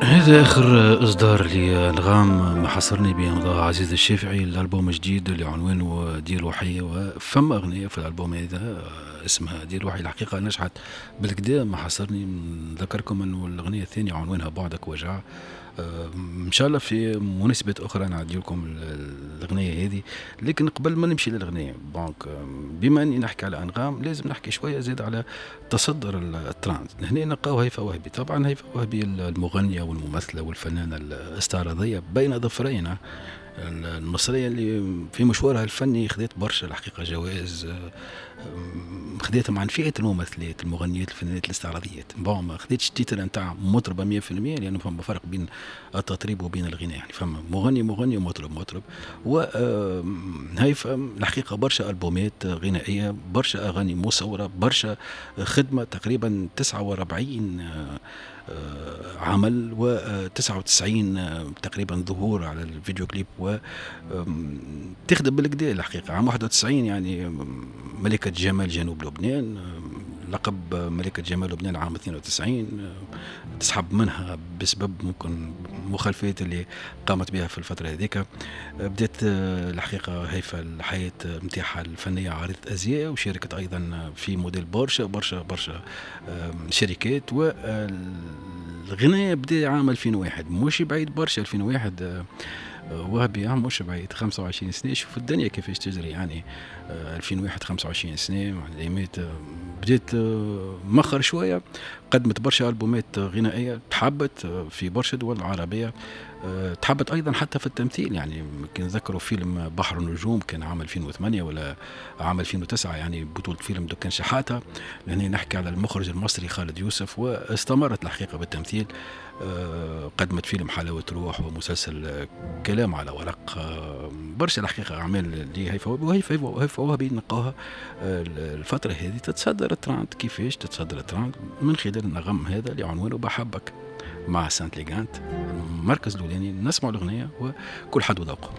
هذا آخر إصدار لأنغام، ما حصرني بإمضاء عزيز الشافعي، الألبوم الجديد اللي عنوانه دير وحي، وفما أغنية في الألبوم هذا اسمها دير وحي. الحقيقة نجحت بالكدا ما حصرني. نذكركم أنه الأغنية الثانية عنوانها بعدك وجع. ان شاء الله في مناسبة اخرى نعدي لكم الاغنية هذه، لكن قبل ما نمشي للاغنية donc بما اني نحكي على انغام لازم نحكي شوية زيد على تصدر الترند. هنا نلقاو هيفاء وهبي، طبعا هيفاء وهبي المغنية والممثله والفنانه الاستعراضيه بين ظفرين المصرية اللي في مشوارها الفني خذت برشا الحقيقة جوائز، خذيتهم عن فئة الممثلات المغنيات الفنانات الاستعراضيات. bon ما خذيتش titre نتاع مطربه 100% لانه فما فرق بين التطريب وبين الغناء، يعني فما مغني مغني ومطرب مطرب. وهيفا الحقيقة برشا البومات غنائيه، برشا اغاني مصوره، برشا خدمه، تقريبا 49 عمل و99 تقريبا ظهور على الفيديو كليب، و تخدم بالكدا الحقيقة. عام 91 يعني ملكه جمال جنوب لبنان، لقب ملكة جمال لبنان عام 92 تسحب منها بسبب ممكن مخالفات اللي قامت بها في الفترة هذيك. بدأت الحقيقة هيفا الحياة نتاعها الفنية عارضة أزياء، وشاركت أيضا في موديل برشا برشا برشا شركات. والغناء بدأ عام 2001، مش بعيد برشا 2001 وهبي مش بعيد 25 سنة. شوف الدنيا كيفاش تجري، يعني 2001 25 سنة الايامات. بديت مخر شوية، قدمت برشا ألبومات غنائية، تحبت في برشا دول عربية، تحبت أيضا حتى في التمثيل. يعني كي نذكروا فيلم بحر النجوم كان عام 2008 ولا عام 2009، يعني بطولة فيلم دكان شحاتة. لهنا نحكي على المخرج المصري خالد يوسف. واستمرت الحقيقة بالتمثيل، قدمت فيلم حلاوة روح ومسلسل كلام على ورق، برشا الحقيقة أعمال لهيفاء وهبي. وهيفاء وهبي نلقاها الفترة هذه تتصدر الترند. كيفاش تتصدر الترند؟ من خلال النغم هذا اللي عنوانه بحبك مع سانت ليغانت، المركز الأولاني. نسمع الأغنية وكل حد وذوقه.